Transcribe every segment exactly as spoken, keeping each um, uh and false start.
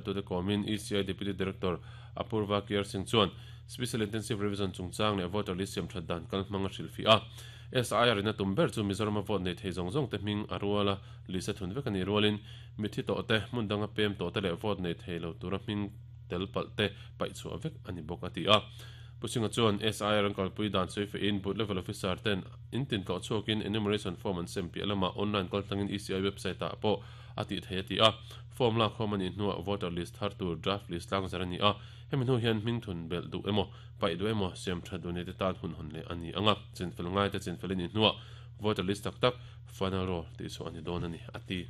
Tu te komin E C I Deputy Director Apurva Kier Singh chuan Special Intensive Revision chungchang leh voter list siam that dan kal hmanga hrilh a. S I R ina tum ber chu Mizoram vote nei thei zawng zawng te hming a ruala lisa thun vek ani rualin mithi to te hmun danga pem to te leh vote nei thei lo tura hming tel pal te pai chu vek ani bawk ati a. Pusinga chuan S I R an kalpui dan soi fe in booth level officer ten in tin to chuakin enumeration form an sem pi alama online kal tlangin E C I website a pawh ati thei ati a. Form la khom ani hnuah voter list thar tur draft list lang zar ani a. Hemi hnu hian hming thun bel du emaw pai du emaw siam tha du ni te tan hun hun le ani anga chin fel ngai te chin fel ni hnuah voter list tak tak final roll ti chu ani don ani ati.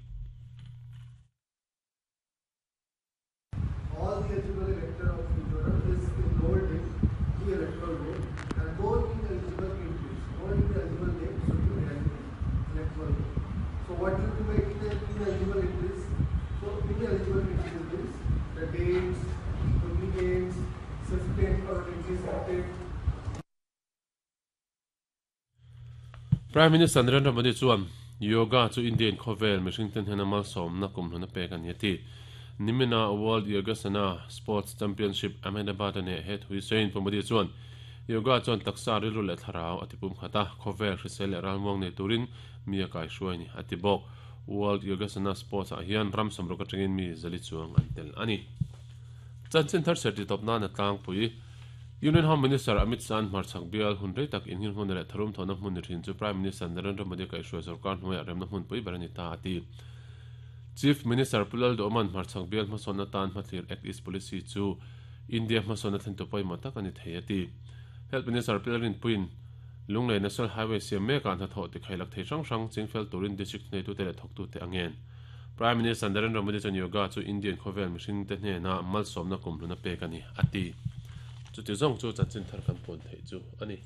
All the eligible elector of Mizoram is enrolled in the electoral roll and no ineligible entries, no ineligible names should be there in the electoral roll. So what do you do by ineligible entries? So ineligible entries means the dates, duplicates, shifted or shifted. Prime Minister Narendra Modi chuan yoga chu Indian khovel mihring ten hena malsawm na kum hluna pek ani ati. Nimina World Yogasana Sports Championship Ahmedabad ane het hui sein Modi chuan yoga chuan taksa rilu leh thlarau atipum khata khovel hrisel leh ralmuang nei turin mi a kai hruai ni ati bawk. World Yogasana Sports ah hian ram samruk atangin mi zali chuang an tel ani. Chanchin thar serti top na na tlang pui Union Home Minister Amit Shah hmarchhak bial hun rei tak inhil hmun leh tharum thawna hmun ni thin chu Prime Minister Narendra Modi kai hruai sarkar hnuaiah remna hmun pui ber ani ta ati. Chief Minister Pulal Doman hmarchhak bial hmasawnna tan hmathlir Act East Policy chu India hmasawnna thlen tu pawimawh tak ani thei ati. Health Minister Pilarin Puin Lunglei National Highway siam mekah hnathawh ti khailak thei hrang hrang chingfel turin district nei tu te leh thawk tu te angen. Prime Minister Narendra Modi chuan yoga chu Indian khovel mihring te hnena malsawmna kum hluna pek ani ati. Chu ti zawng chu chanchin thar kan pawn thei chu ani.